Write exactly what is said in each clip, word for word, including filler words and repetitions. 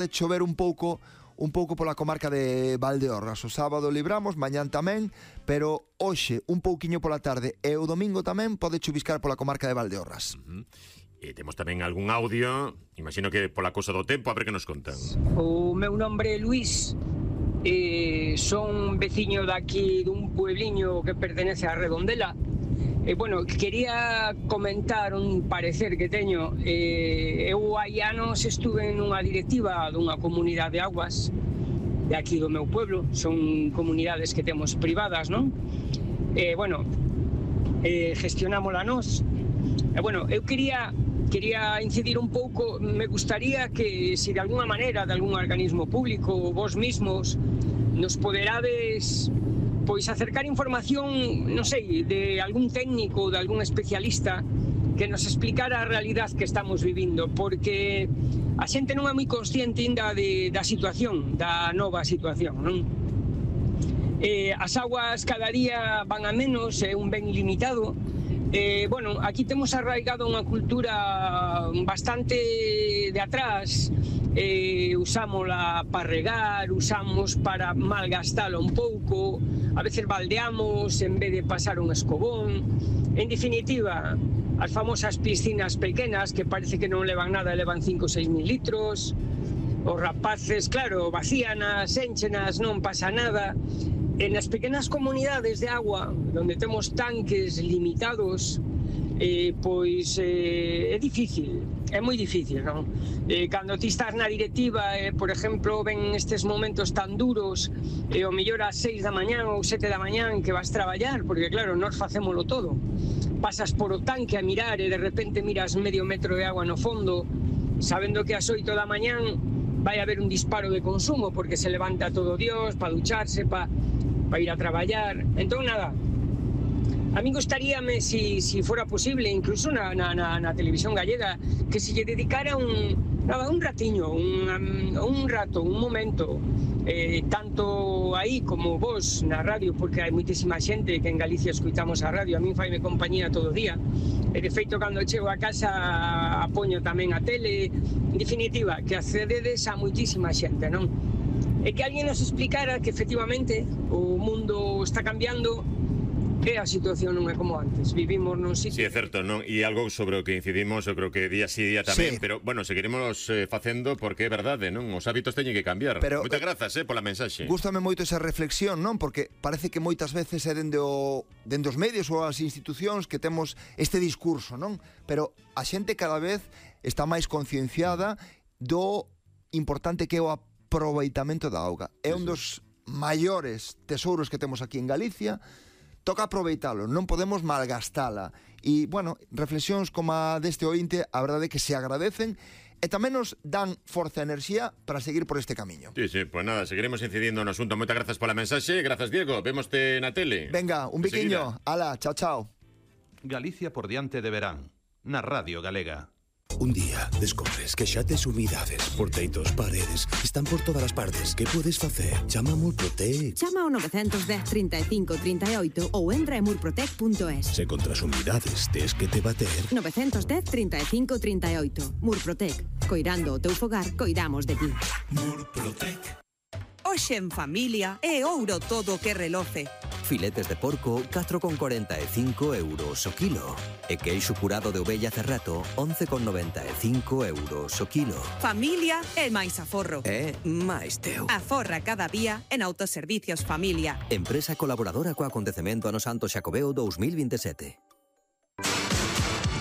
de chover un pouco un pouco pola comarca de Valdeorras. O sábado libramos, mañán tamén, pero hoxe un pouquiño pola tarde e o domingo tamén pode chuviscar pola comarca de Valdeorras. Uh-huh. E temos tamén algún audio, imagino que pola cousa do tempo, a ver que nos contan. O meu nombre é Luís, eh, son veciño daqui dun puebliño que pertenece a Redondela. E, bueno, quería comentar un parecer que teño. Eh, eu hai anos estuve nunha directiva dunha comunidade de aguas de aquí do meu pueblo. Son comunidades que temos privadas, non? E, bueno, eh, gestionámola nós. E, bueno, eu quería... Quería incidir un pouco, me gustaría que se de alguna maneira, de algún organismo público, ou vos mismos, nos poderades pois acercar información, non sei, de algún técnico, de algún especialista que nos explicara a realidade que estamos vivindo, porque a xente non é moi consciente ainda de, da situación, da nova situación, non? Eh, as aguas cada día van a menos, é un ben limitado. Eh, bueno, aquí temos arraigado unha cultura bastante de atrás. Eh, usámola para regar, usamos para malgastalo un pouco, a veces baldeamos en vez de pasar un escobón. En definitiva, as famosas piscinas pequenas que parece que non levan nada, levan cinco ou seis mil litros. Os rapaces, claro, vacíanas, énchenas, non pasa nada. En as pequenas comunidades de agua, onde temos tanques limitados, eh, pois eh, é difícil, é moi difícil, non? Eh, cando ti estás na directiva, eh, por exemplo, ven estes momentos tan duros, e eh, o mellor ás seis da mañán ou sete da mañán que vas traballar, porque claro, nós facémolo todo. Pasas por o tanque a mirar e de repente miras medio metro de agua no fondo, sabendo que ás oito da mañán vai haber un disparo de consumo, porque se levanta todo Dios para ducharse, para pa ir a traballar. Entón, nada, a mí gustaríame, si, si fora posible, incluso na, na, na, na televisión gallega, que se lle dedicara un, nada, un ratiño, un, un rato, un momento, eh, tanto aí como vos na radio, porque hai moitísima xente que en Galicia escuitamos a radio, a mí faime compañía todo o día, e de feito cando chego a casa apoño tamén a tele. En definitiva, que accededes a moitísima xente, non? E que alguén nos explicara que efectivamente o mundo está cambiando e a situación non é como antes. Vivimos nun sitio... Sí, é certo, non? E algo sobre o que incidimos, eu creo que día sí, día tamén, sí. Pero, bueno, seguiremos eh, facendo porque é verdade, non? Os hábitos teñen que cambiar. Pero, moitas grazas, eh, pola mensaxe. Gústame moito esa reflexión, non? Porque parece que moitas veces é dende, o, dende os medios ou as institucións que temos este discurso, non? Pero a xente cada vez está máis concienciada do importante que é o aproveitamento da auga. É un dos maiores tesouros que temos aquí en Galicia. Toca aproveitalo, non podemos malgastala. E, bueno, reflexións como a deste ointe, a verdade é que se agradecen e tamén nos dan forza e enerxía para seguir por este camiño. Sí, sí, pues nada, seguiremos incidindo no asunto. Moitas grazas pola mensaxe. Grazas, Diego. Vémoste na tele. Venga, un biquiño. Ala, chao, chao. Galicia por diante de verán, na Radio Galega. Un día descobres que xa tes umidades, porteitos, paredes, están por todas as partes. Que podes facer? Chama a Murprotec. Chama ao nove un cero, trinta e cinco, trinta e oito ou entra en murprotec punto es. Se contra as umidades tes que te bater. nove un cero, trinta e cinco, trinta e oito. Murprotec. Coirando o teu fogar, coidamos de ti. Murprotec. Hoxe en familia é ouro todo o que reloce. Filetes de porco, catro con cuarenta e cinco euros o kilo. E queixo curado de ovella cerrato, once con noventa e cinco euros o kilo. Familia é máis aforro. É máis teu. Aforra cada día en Autoservicios Familia. Empresa colaboradora co acontecemento ano Santo Xacobeo dous mil vinte e sete.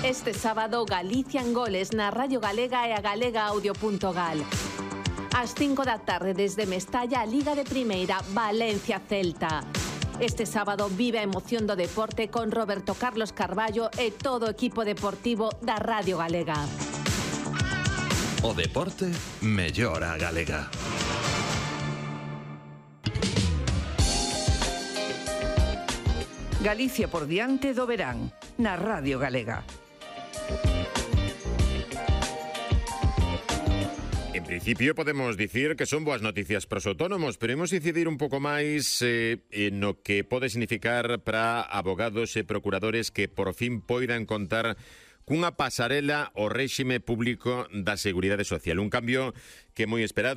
Este sábado, Galicia en goles na Radio Galega e a galega audio punto gal. Ás cinco da tarde desde Mestalla, Liga de Primeira, Valencia-Celta. Este sábado vive a emoción do deporte con Roberto Carlos Carballo e todo o equipo deportivo da Radio Galega. O deporte mellora a galega. Galicia por diante do verán, na Radio Galega. En principio podemos dicir que son boas noticias para os autónomos, pero imos incidir un pouco máis eh, no que pode significar para abogados e procuradores que por fin poidan contar cunha pasarela ao réxime público da Seguridade Social. Un cambio que é moi esperado